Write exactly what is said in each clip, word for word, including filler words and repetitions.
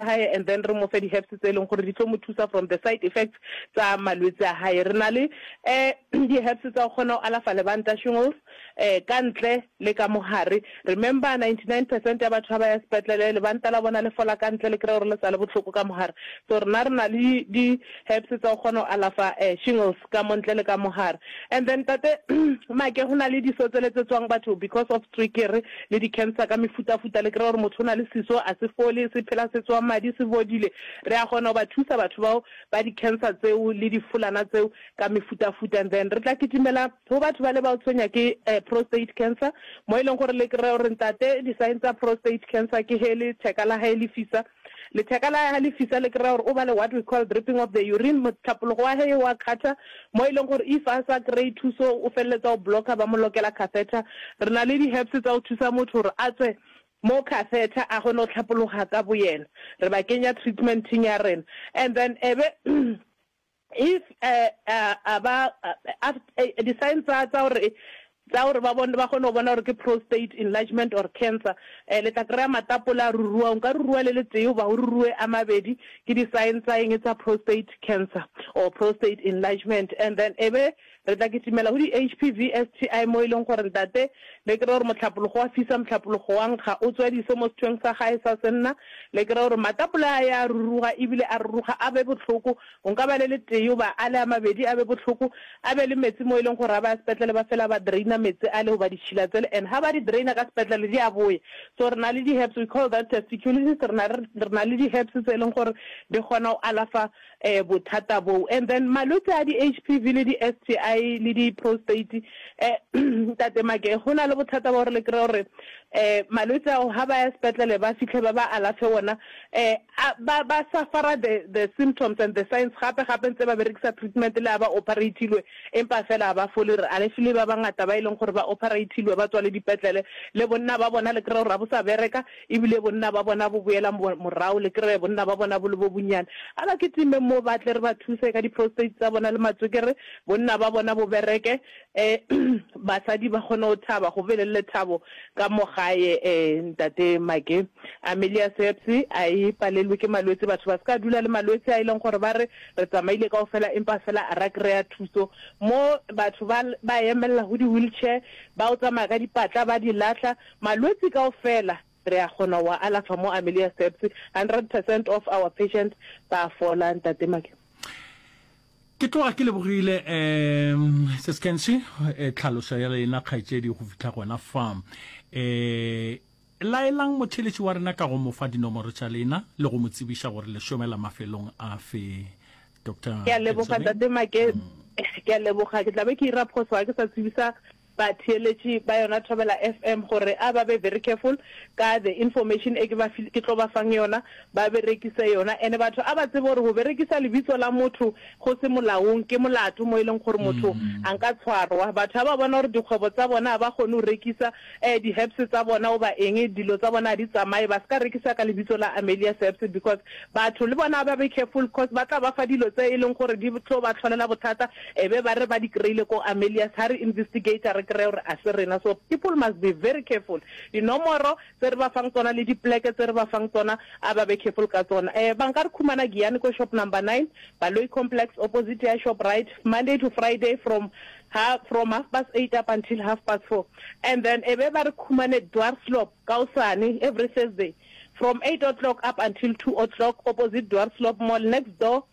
gae and then re mo fe di-herbs tse e leng gore di tlo mo thusa from the side effects tsa malwetse a gae re na le um di-herbs tsa go kgona go alafa lebanta shingles um ka ntle le ka mogare remember ninety-nine percent ya batho ba ba ya sepetlele lebanta la bona le fola ka ntle le kry gore le sa le bohloko ka mogare so rena re na le di-herbs tsa go kgona go alafa um shingles ka mo ntle le ka mogare and then tate make go na le diso tsele tse tswang batho because of tswekere le di-cancer ka mefutafuta le kry gore motho o na le seso a se fole se phela se tswa madi se bodile re a kgona go ba thusa batho bao ba di-cancer tseo le difolana tseo ka mefutafuta and then re tla kitimela go batho ba le ba o tshwenya ke um prostate cancer mo e leng gore le kry gore ntate di-sign tsa prostate cancer ke he letheka la hae le fisa letheka la hae le fisa le kry gore o ba le what we call dripping of the urine motlhapologo wa he wa kgatha mo e leng gore if a sa kry thuso o feleletsa o blocka ba mo lokela catheter re na le di-herbs tsa go thusa motho gore a tswe mo catheter a kgone go tlhapologa ka bo yena re ba kenya treatmenteng ya rena and then ebe if uh, uh, a ba uh, di-sign tsa tsa gore tsa gore ba bone ba kgone go bona gore ke prostate enlargement or cancer um le tla kry-a matapola a rurua o nka rurua le le tee goba o rurue a mabedi ke di-sign tsa eng tsa prostate cancer or prostate enlargement and then ebe re tla kitimela go di-H P V S T I mo e leng gore ntate le kry gore motlhapologo wa fisa motlhapologo wa nkga o tswa diso mo sethweng sa gae sa senna le kry gore matapola a ya ruruga ebile a ruruga a be botlhoko o nka ba le le tee goba a le a mabedi a be botlhoko a be le metsi mo e leng gore a ba sepetlele ba fela ba draina metsi a le goba ditšhila tsele and ha ba di draina ka sepetlele di a boya so re na le di-herbs we call that testiculitis re na le di-herbs tse e leng gore di kgona go alafa um bothata boo and then malwetse a di-H P V le di-S T I le di-prostate um ntate Make go na le bothata ba gore le kry gore um malwetse ao ha ba ya sepetlele ba fitlhe ba ba alafe ona um ba ba suffera the the symptoms and the signs gape gape ntse ba berekisa treatment le ha ba operatilwe empa fela ba fole re alafile ba bangata ba e leng gore ba operatilwe ba tswa le dipetlele le bonna ba bona le kry gore ga bo sa bereka ebile bonna ba bona bo boela morago le kry bonna ba bona bo le bo bonnyane a ba ketime mo ba tle re ba thuse ka di-prostate tsa bona le matswekere bonna ba bona bo bereke um basadi ba kgone go thaba go be le lethabo ka mo gae um ntate Make Amelia Seps a e palelwe ke malwetse batho ba se ka dula le malwetse a e leng gore ba re re tsamaile kao fela empa fela a ra kry-a thuso mo batho ba ba emelela go di-wheelchair ba o tsamaya ka dipatla ba di latlha malwetse kao fela re a kgona wa alafa mo Amelia Steps hundred percent of our patients ba fola ntate Make ke tloga ke lebogile um seskense tlhaloso ya lena kgaetšedi go fitlha gona fa um laelang motheletši wa rena ka go mo fa dinomoro tša lena le go mo tsebiša gore le šomela mafelong a fe doctor ke a leboga ntate Make ke a leboga ke tla be ke ira phoso ga ke sa tsebisa batheeletši ba yona Thobela F M gore a ba be very careful ka the information e ke ba ke tlo ba fang yona ba berekise yona ene batho a ba tsebe gore go berekisa lebitso la motho go se molaong ke molato mo e leng gore motho a nka tshwarwa batho ba ba bona gore dikgwebo tsa bona ga ba kgone go rekisa um di-herbs tsa bona goba eng dilo tsa bona ga di tsamaye ba se ka rekisa ka lebitso la Amelia Seps because batho le bona ba be careful cause ba tla ba fa dilo tse e leng gore di tlo ba tlholela bothata e be ba re ba di kry-ile ko Amelia's ha re investigate re kry gore a se rena so people must be very careful dinomoro tse re ba fang tsona le dipleke tse re ba fang tsona a ba be careful ka tsona um ba nka re khumana Giyani ko shop number nine Baloi complex opposite ya Shoprite Monday to Friday from ha from half past eight up until half past four and then e be ba re khumane Dwarsloop kaosane every Thursday from eight o'clock up until two o'clock opposite Dwarsloop mall next door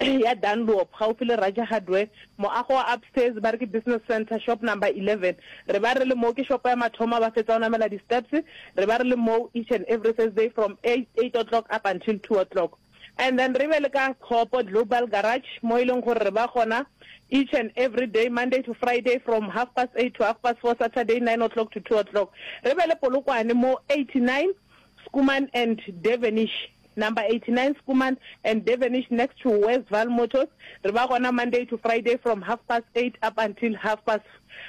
ya Dunlop gaufi le Raja Hardware moago wa upstairs ba re ke business center shop number eleven re ba re le mo ke shop ya mathomo ba fetsa go namela di-steps re ba re le mo each and every Thursday from eight, eight o'clock up until two o'clock and then re be le ka Copo Global Garage mo e leng gore re ba gona each and every day Monday to Friday from half past eight to half past four Saturday nine o'clock to two o'clock re be le Polokwane mo eighty-nine Schoeman and Devenish number eighty-nine Schoeman and Devenish next to Westval Motors re ba gona Monday to Friday from half past eight up until half past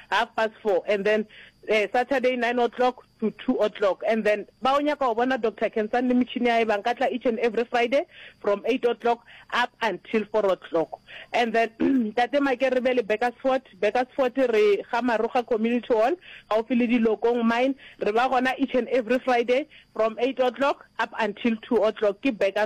half past four and then uh, Saturday nine o'clock to two o'clock and then ba o nyaka go bona Doctor Kensan le metšhini ya ba nka tla each and every Friday from eight o'clock up until four o'clock and then tate Make re be le Bakersford Bakersford re ga Maroga Community Hall gaufi le Dilokong mine re ba gona each and every Friday from eight o'clock up until two o'clock ke Bakersford